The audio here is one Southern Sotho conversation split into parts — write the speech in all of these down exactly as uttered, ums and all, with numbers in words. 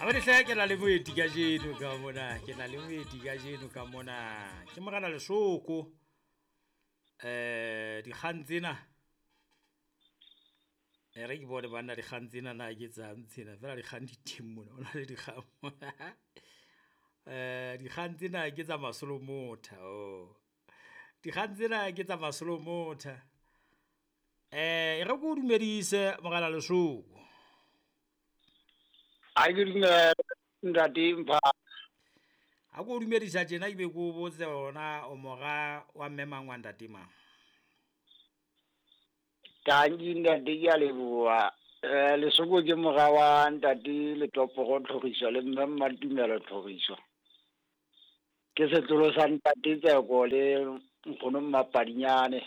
Hle ke na le moeti kajeno ka mona, ke na le moeti kajeno ka mona. Ke Morena Lesoko. Eh dikgang tsena e re ke bone banna dikgang tsena na ke tsang tsena feela dikgang di teng mona, ho na le dikgang mona. Eh dikgang tsena ke tsa Masolomotha oh, dikgang tsena ke tsa Masolomotha. Eh e re ke o dumedise Morena Lesoko. Ha ke dumele ntate Mpha. Ha ke o dumedisa tjena ebe ke o botse hore na o mora wa mme mang wa ntate mang? Tanki ntate, ke a leboha. Eh, Lesoko ke mora wa ntate Letoporo Tlhoriso le mme Mmatumelo Tlhoriso. Ke setlolo sa ntate Tseko le nkgono Mmapadinyane.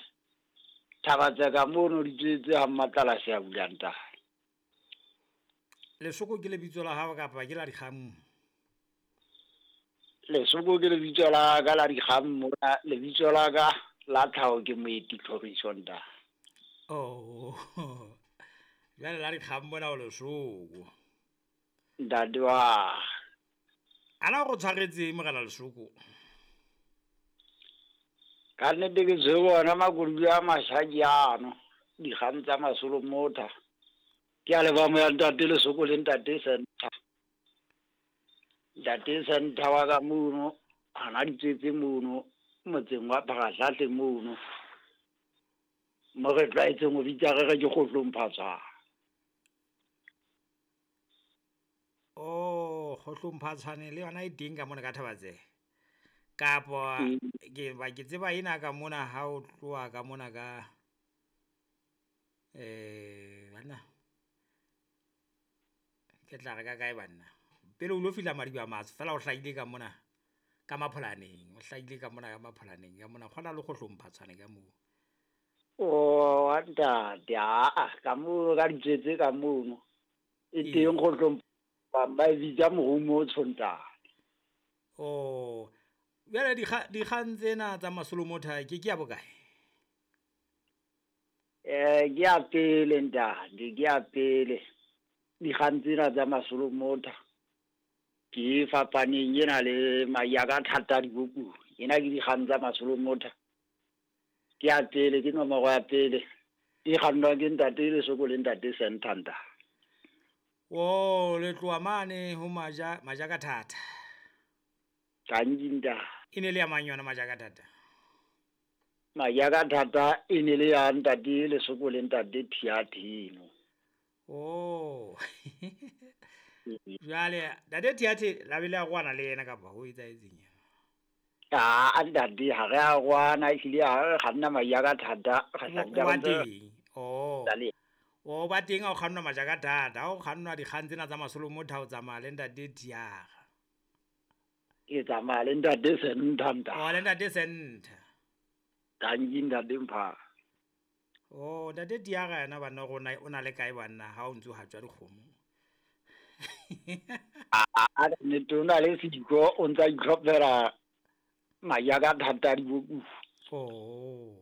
Thaba Tseka mono di tswetse ha Mmatlala se a bula ntate. Lesoko ke lebitso la hao kapa ke la dikgang? Lesoko ke lebitso la ka la dikgang mona, lebitso la ka la tlhaho ke Moeti Tlhoriso ntate. Oh. Jwale la dikgang mona o Lesoko. Ntate wa. Ana o tshwaretse Morena Lesoko? Ka nnete ke tshwere ona makoloi a mashaki ano, dikgang tsa Masolomotha. Ke a leboha moya ntate Lesoko le ntate Center. Ntate Center wa ka mono, hana di tswetse mono, motseng wa Phagahlahle mono. Mo re tlwaetseng ho bitsa re re ke Kgohlong Phatshwana. Oh, Kgohlong Phatshwane le yona e teng ka mona ka Thabatse. Kapa ke ba ke tseba ena ka mona ha o tloha ka mona ka eh banna. Ke tla re ka kae banna? Pele o lo fihla Madiba Matsho fela o hlahile ka mona ka Mapholaneng, o hlahile ka mona ka Mapholaneng ka mona kgona le Kgohlong Phatshwane ka moo. Oh, ntate, a ka mono ka ditswetse ka mono. E teng Kgohlong ba ba e bitsa morumo o tshontane. Oh, jwale dikgang tsena tsa Masolomotha ke ke ya bokae? Eh, ke ya pele ntate, ke ya pele. Dikgang tsena tsa Masolomotha ke fapaneng ena le maya ka thata dibuku. Ena ke dikgang tsa Masolomotha. Ke ya pele, ke nomoro ya pele. E kgannwa ke ntate Lesoko le ntate Sentanta. Oh, le tloha mane ho Maja, Maja ka thata. Tanki ntate. E ne le ya mang yona Maja ka thata? Maja ka thata e ne le ya ntate Lesoko le ntate Thiathino. Oh. Jwale ntate Thiathe la bile a kwana le yena kapa ho etsahetseng yena? Ah, ntate ha re a kwana, ehlile ha re kganna Maja ka thata, re sa O ba teng. Oh. O ba teng ha o kgannwa Maja ka thata, ha o kgannwa dikgang tsena tsa Masolomotha o tsamaya le ntate Thiaga. Ke tsamaya le ntate Sentha ntate. Oh, le ntate Sentha. Tanki ntate Mpha. Oh, ntate Thiaga yena banna rona o na le kae banna ha o ntso hatswa dikgomo? Ah, nnete o na le sediko, o ntsa itlhophela Maja ka thata dibuku. Oh.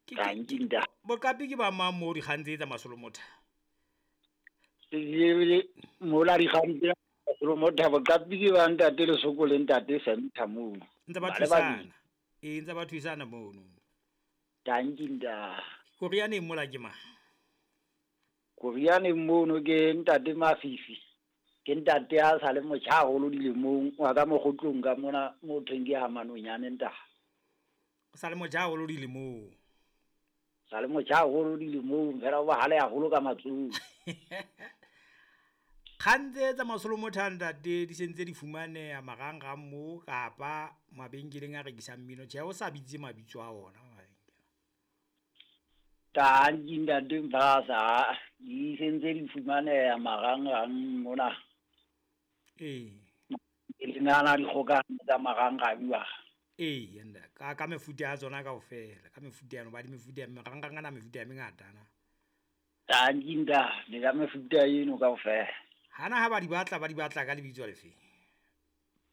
Tanki ntate. Boqapi ke ba mang moo dikgang tse tsa Masolomotha? Mola dikgang tse Masolomotha boqapi ke ba ntate Lesoko le ntate Sentha mono. Ntse ba thusana. Eh, ntse ba thusana mono. Tanki ntate. Korianeng mola ke mang? Korianeng mono ke ntate Mafifi. Ke ntate a sa le motjha haholo dilemong, wa ka mokgotlong ka mona mo thweng ke ha Manonyane ntate. O sa le motjha haholo dilemong. Sa le motjha haholo dilemong, fela o bahale haholo ka matsoho. Kgang tse tsa Masolomotha ntate di sentse di fumaneha marangrang moo kapa mabenkeleng a rekisang mmino. Tjhe, o sa bitse mabitso a ona mabenkele. Tanki ntate Mpasa, di sentse di fumaneha marangrang mona. Eh. E le nana dikgokahano tsa marangrang wa. Eh, nda ka ka mefuta ya tsona kaofela, ka mefuta ya no ba di mefuta ya marangrang ana mefuta ya mengata na. Tanki ntate, ka mefuta eno kaofela. Hana ha ba di batla, ba di batla ka lebitso lefe?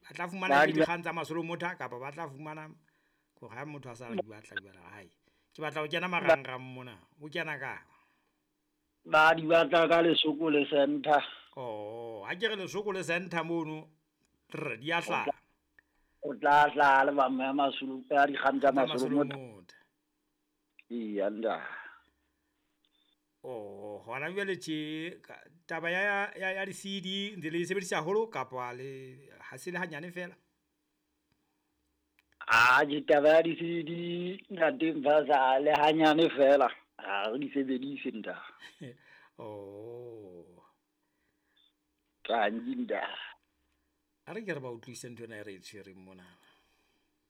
Ba tla fumana dikgang tsa Masolomotha kapa ba tla fumana hore ha motho a sa di batla di batla hae. Ke batla ho kena marangrang mona, o kena ka? Ba di batla ka Lesoko le Center. Oh, Oh, ha ke re lesoko le center mono, trr, di a hlaha. O tla hlaha album ya Masolo, ya dikgang tsa Tsa Masolo Motha. Masolomotha. Eya ntate. Oh, hona jwale tje ka- taba ya ya ya di-C D ntse le e sebedisa haholo kapa le ha se le hanyane fela? Ah, ditaba ya di-C D ntate Mfasa le hanyane fela. Ha re di sebedise ntate. Oh. Tanki ntate. A re ke re ba utlwise ntho ena e re e tshwereng mona.